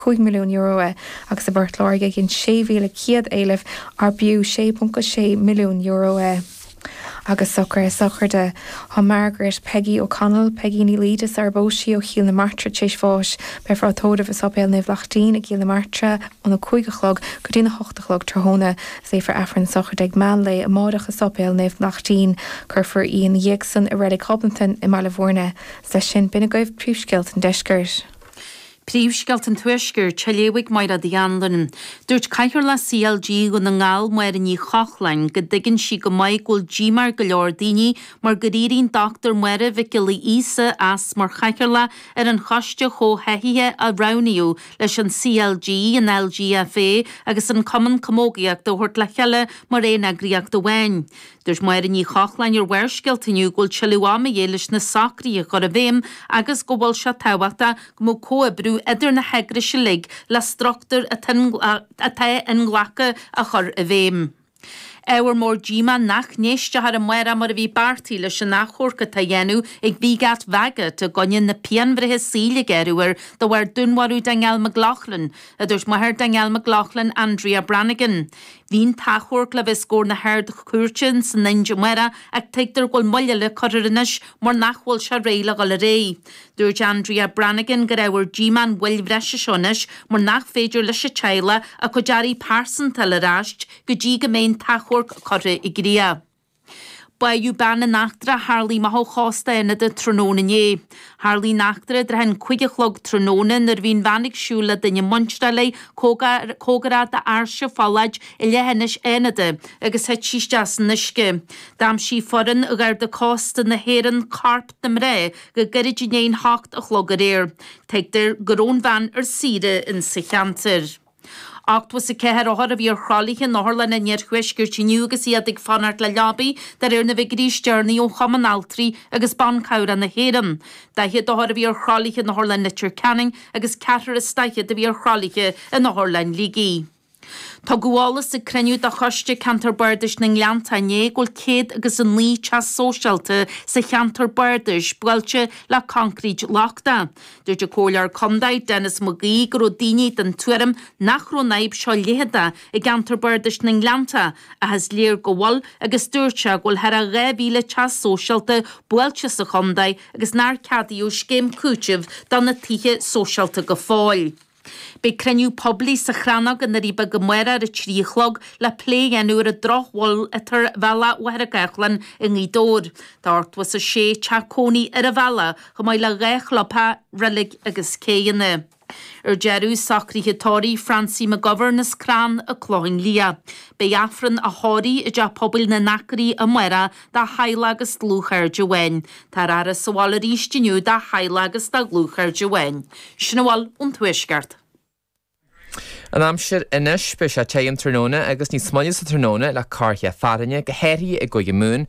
€5 milliún é agus i bPort Láirge ghin 6,100 éileamh ar b'fhiú €6.6 milliún é. Agus socruithe sochraide. Tá Margaret Peggy O'Connell, Peigí Ní Laoide sar ar phós sí ó Chill na Martra tar éis bháis. Beifear á tórramh i Sáipéal Naomh Lachtaín i gCill na Martra óna 5 a chlog go dtína 8 a chlog tráthnóna. Léifear Aifreann na sochraide ag meán lae amáireach i Sáipéal Naomh Lachtaín. Cuirfear í ina dhiaidh san i Reilig Ghobnatan i mBaile Bhúirne. 'S leis sin, b'in agaibh príomhscéalta an deiscirt. Príomhscéalta an Tuaiscirt, á léamh ag Mairéad Uí Anluain. Dúirt Cathaoirleach CLG Dhún na nGall, Máire Ní Chochláin, go dtuigeann sí go maith go bhfuil díomá ar go leor daoine mar gur éirigh an Dr Máire Mhic Giolla Íosa as mar chathaoirleach ar an choiste chomhtháthaithe a roghnaíodh leis an CLG, an LGFA agus an Cumann Camógaíochta a thabhairt le chéile mar aon eagraíocht amháin. Dúirt Máire Ní Chochláin ar Bharrscéalta inniu go bhfuil tuilleadh ama a dhíth leis na socruithe a chur i bhfeidhm agus go bhfuil sé tábhachtach go mbeadh comhoibriú idir na heagrais uilig le struchtúr atá inghlactha a chur i bhfeidhm. Ábhar mór díomá nach n-éisteofar amárach mar a bhí beartaithe leis an achomharc atá á dhéanamh ag Wiegert Waggott i gcoinne na pianbhreithe saoil a gearradh air de bharr dúnmharú Danielle McLaughlin, a dúirt máthair Danielle McLaughlin, Andrea Brannigan. Bhí an t-achomharc le bheith os comhair na hArd-Chúirte san Ind amárach ach tuigtear go bhfuil moill eile curtha air anois mar nach bhfuil sé réidh le dhul ar aghaidh. Dúirt Andrea Brannigan gur ábhar díomá an mhoill bhreise seo anois mar nach féidir leis an teaghlach a cuid earraí pearsanta a fháil ar ais go dtí go mbeidh an t-achomharc curtha i gcrích. Báitheadh bean in eachtra a tharlaigh amach ó chósta Fhánada tráthnóna inné. Tharlaigh an eachtra i dtrátha an 5 a chlog tráthnóna nuair a bhí an bhean ag siúl le duine muinteartha léi cóngarach d'Áirse Pholláid i leithinis Fhánada agus thit sí isteach san uisce. D'aimsigh foireann Gharda Cósta na hÉireann corp na mná go gairid i ndiaidh an hocht a chlog aréir. Tuigtear go raibh an bhean ar saoire insa cheantar. 84 othar a bhí ar thralaithe in otharlanna an iarthuaiscirt inniu agus iad ag fanacht le leabaí, de réir na bhfigiúirí is deireanaí ó Chumann Altraí agus Ban Cabhrach na hÉireann. 40 othar a bhí ar thralaithe in Otharlann Leitir Ceanainn agus ceathrar is daichead a bhí ar thralaithe in Otharlann Shligigh. Tugadh eolas ag cruinniú de Choiste Ceantar Bardais na nGleannta inné go bhfuil 109 teach sóisialta sa cheantar bardais buailte le concrete lochtach. Dúirt an Comhairleoir Contae, Denis Mac Aoidh, go raibh daoine den tuairim nach raibh an fhadhb seo leitheadach i gceantar bardais na nGleannta ach is léir go bhfuil agus dúirt sé go bhfuil thar a 2,000 teach sóisialta buailte sa chontae agus nár ceadaíodh scéim cúitimh do na tithe sóisialta go fóill. Beidh cruinniú poiblí sa Chrannóg i nDoirí Beaga amárach ar a 3 a chlog le plé a dhéanamh ar an drochbhail atá ar bhealach Mhachaire Gathlán i nGaoth Dobhair. Tá 86 teach cónaí ar an bhealach, chomh maith le 2 chlubtheach, reilig agus céidheanna. Ar deireadh, socruithe tórraimh Francie McGovern as Crann an Clochán Liath. Beidh Aifreann a thórraimh i dTeach Pobail na nAcraí amárach dá theaghlach agus dlúthchairde amháin. Táthar á fhaire sa bhaile arís inniu dá theaghlach agus dá dhlúthchairde amháin. Sin a bhfuil ón Tuaisceart. An aimsir anois, beidh sé te an tráthnóna agus níos moille sa tráthnóna le corrcheann fearthainne, go háirithe i gCúige Mumhan,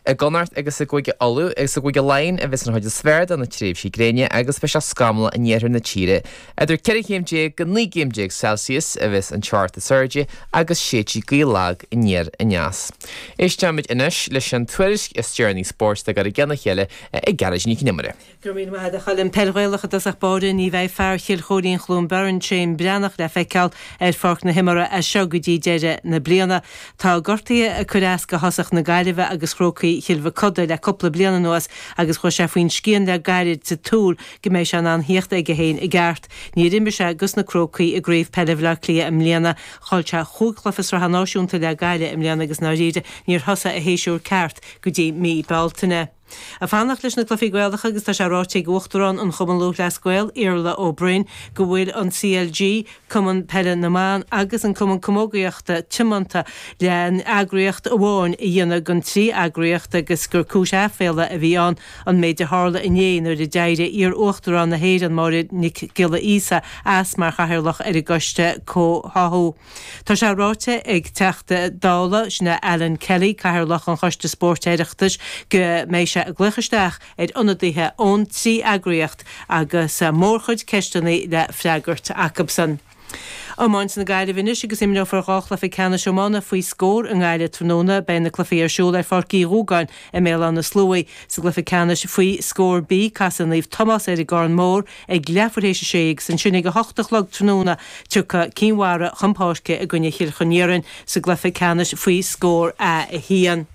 i gConnacht agus i gCúige Uladh agus i gCúige Laighean a bheas an chuid is fearr de na tréimhsí gréine agus beidh sé scamallach in iarthar na tíre. Idir 14 chéim go 19 gcéim Celsius a bheas an teocht is airde agus séidfidh gaoth lag aniar aneas. Éisteimid anois leis an tuairisc is deireanaí spóirt le gcur i gcionn a chéile ag Gearóidín Nic Con Iomaire. Go raibh míle maith agat a Choilm. Peil Ghaelach i dtosach báire, ní bheidh fear Chill Chóirín Chluain Bheirn, Shane Breathnach, le feiceáil ar pháirc na himeartha as seo go dtí deireadh na bliana. Tá gortuithe ag cur as do thosach na Gaillimhe agus Chrócaigh Chill Mochuda le cúpla bliain anuas agus chuaigh sé faoin scian le gairid sa tsúil go mbeidh sé in ann thíocht aige féin i gceart. Níor imir sé dos na Crócaigh i gCraobh Peile Bhaile Átha Cliath i mbliana. Chaill sé chúig chluiche sraithe náisiúnta le Gaillimh i mbliana agus i ndáiríre níor thosaigh a shéasúr ceart go dtí mí Bealtaine. Ag fanacht leis na cluichí Gaelacha agus tá sé ráite ag Uachtarán an Chumann Lúthchleas Gael, Iarla Ó Broin, go bhfuil an CLG, Cumann Peile na mBan agus an Cumann Camógaíochta tiomanta le eagraíocht amháin a dhéanamh den trí eagraíocht agus gur cúis aiféala a bhí ann an méid a tharla inné nuair a d'éirigh iar-Uachtarán na hÉireann Máire Nic Giolla Íosa as mar chathaoirleach ar an gCoiste Comhtháthú. Tá sé ráite ag Teachta Dála, sin é Alan Kelly, Cathaoirleach an Choiste Spóirt Oireachtais, go mbeidh sé ag glaoch isteach ar ionadaithe ón trí eagraíocht agus mórchuid ceisteanna le freagairt acubsan. Iomáint na Gaillimhe anois agus imreofar 2 chluiche ceannais iomána faoi scór i nGaillimh tráthnóna. Beidh na cluichí ar siúl ar Pháirc Uí Dhúgáin i mBéal Átha na Sluaighe. Sa gcluiche ceannais faoi scór B, casfaidh Naomh Tomás ar an gCarn Mór ag leathuair théis a sé agus ansin ag a hocht a chlog tráthnóna tiocfaidh Cinn Mhara chun páirce i gcoinne Chill Choniorainn sa gcluiche ceannais faoi scór A1.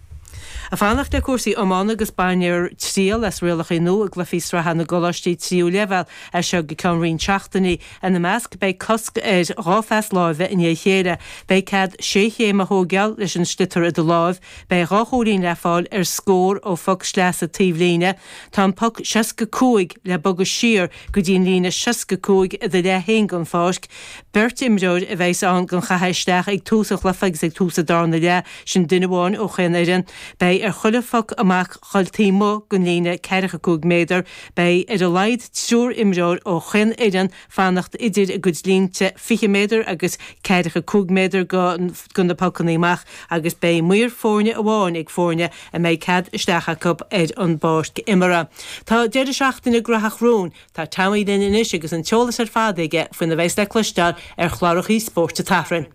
Ag fanacht le cúrsaí iomána agus bainfear triail as rialacha nua i gcluichí sraithe na gcoláistí tríú leibhéal as seo go ceann roinnt seachtainí. Ina measc beidh cosc ar 2 phas láimhe i ndiaidh a chéile, beidh cead sé chéim a thóigeáil leis an sliotar i do láimh, beidh 2 chúilín le fáil ar scór ó phoc sleasa taobhlíne, tá an poc 65 le bogadh siar go dtí an líne 65 i do leath féin den pháirc, Beirt imreoir a bheas ann don chaitheamh isteach ag tús an chluiche agus ag tús an darna leath, sin duine amháin ó chaon fhoireann. Beidh ar chuile phoc amach dhul taobh amuigh den líne ceathracha 5 méadar. Beidh ar a laghad triúr imreoir ó chaon fhoireann fanacht idir a gcuid línte 20 méadar agus ceathracha 5 méadar go na pocanna amach agus beidh maor foirne amháin ag foirne a mbeidh cead isteach acu ar an bpáirc imeartha. Tá deireadh seachtaine graitheach romhainn. Tá Tommy linn anois agus an t-eolas ar fad aige faoina bheas le cloisteáil ar chlárachaí spóirt an tSathairn.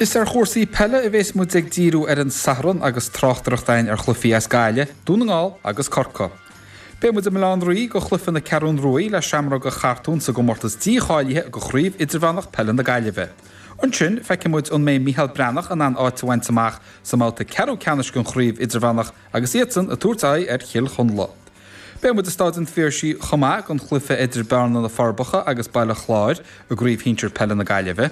Is ar chúrsaí peile a bhéas muid ag díriú ar an Satharn agus tráchtaireacht againn ar chluichí as Gaillimh, Dún na nGall agus Corcaigh. Beidh muid i mBaile Átha an Rí go chluiche na Ceathrún Ruaidh le Seamróga Chartún sa gcomórtas dícháilithe go Chraobh Idirmheánach Peile na Gaillimhe. Ansin, feicfidh muid an mbeidh Micheál Breathnach in ann áit a bhaint amach sa mbabhta ceathrú ceannais den chraobh idirmheánach agus iadsan ag tabhairt aghaidh ar Chill Chonla. Beidh muid i Stáid an Phiarsaigh chomh maith don chluiche idir Bearna na Forbacha agus Baile Chláir i gCraobh Shinsir Peile na Gaillimhe.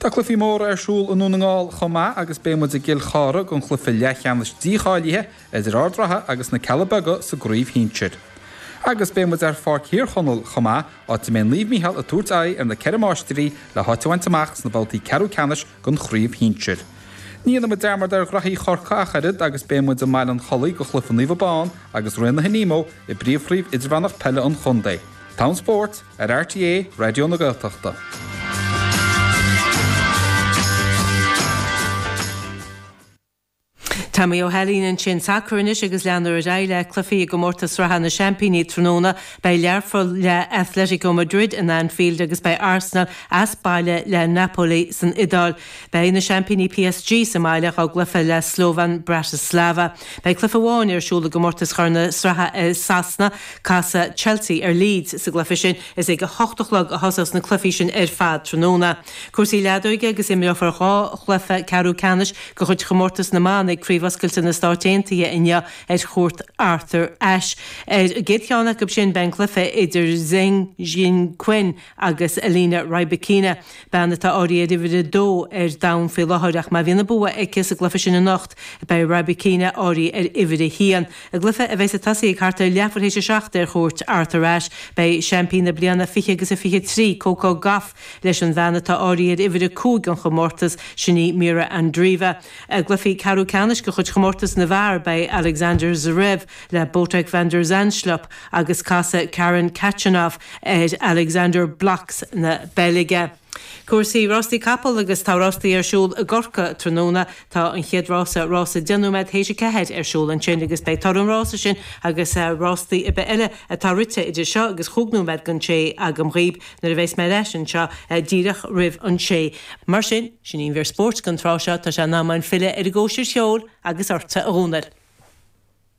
Tá cluichí móra ar siúl i nDún na nGall chomh maith agus beidh muid i gCill Chartha don chluiche leathcheannais dícháilithe idir Ard Ratha agus na Cealla Beaga sa gcraobh shinsir. Agus beidh muid ar Pháirc Thír Chonaill chomh maith, áit a mbeidh Naomh Mícheál ag tabhairt aghaidh ar na Ceithre Máistrí le háit a bhaint amach sna babhtaí ceathrú ceannais den chraobh shinsir. Ní dhéanfaidh muid dearmad ar ghraithí Chorcaí ach oiread agus beidh muid i mBaile an Chollaigh go chluiche Naomh Abán agus Raonaithe Nemo i bpríomhchraobh idirmheánach peile an chontae. T-am Spóirt ar RTÉ Raidió na Gaeltachta. Tommy Ó hAilín ansin. Sacar anois agus leanfar ar aghaidh le cluichí i gcomórtas sraithe na Seaimpíní tráthnóna. Beidh Learpholl le Atletico Madrid in Anfield agus beidh Arsenal as baile le Napoli san Iodáil. Beidh na seaimpíní PSG sa mbaile dá gcluiche le Slovan Bratislava. Beidh cluiche amháin ar siúl i gcomórtas Chorn na Sraithe i Sasana. Casfaidh Chelsea ar Leeds sa gcluiche sin. Is ag a hocht a chlog a thosós na cluichí sin ar fad tráthnóna. Cúrsaí leadóige agus imreofar 2 chluiche ceathrú ceannais de chuid chomórtas na mban ag Craobh Oscailte na Stáit Aontaithe inniu ar chúirt Arthur Ashe. Ar an gcéad cheann acu sin beidh an cluiche idir Zheng Qinwen agus Elena Rybakina, bean atá áirithe ar uimhir a dó ar domhan faoi láthair ach má bhíonn an bua aici sa gcluiche sin anocht beidh Rybakina áirithe ar uimhir a haon. I gcluiche a bheas ag tosaí ag thart ar leathuair théis a seacht ar chúirt Arthur Ashe beidh seaimpín na bliana 20 agus a 23, Coco Gauff, Leis an bhean atá áirithe ar uimhir 5 den chomórtas, sin í Mirra Andreeva. I gcluichí ceathrú ceannais de chuid chomórtas na bhfear, beidh Alexander Zverev le Botic van der Zandschulp agus casfaidh Karen Khachanov ar Alexander Blockx na Beilge. Cúrsaí rástaí capall agus tá rástaí ar siúl i gCorcaigh tráthnóna. Tá an chéad rása, rása deich nóiméad théis a ceathair, ar siúl ansin agus beidh toradh an rása sin agus rástaí ar bith eile atá rite idir seo agus chúig nóiméad don sé agam dhaoib. Nuair a bheas mé ar ais anseo díreach roimh an sé. Mar sin, sin í an mhír spóirt don tráth seo, tá sé in am againn filleadh ar an gcóisir cheoil agus ortsa a Dhónaill.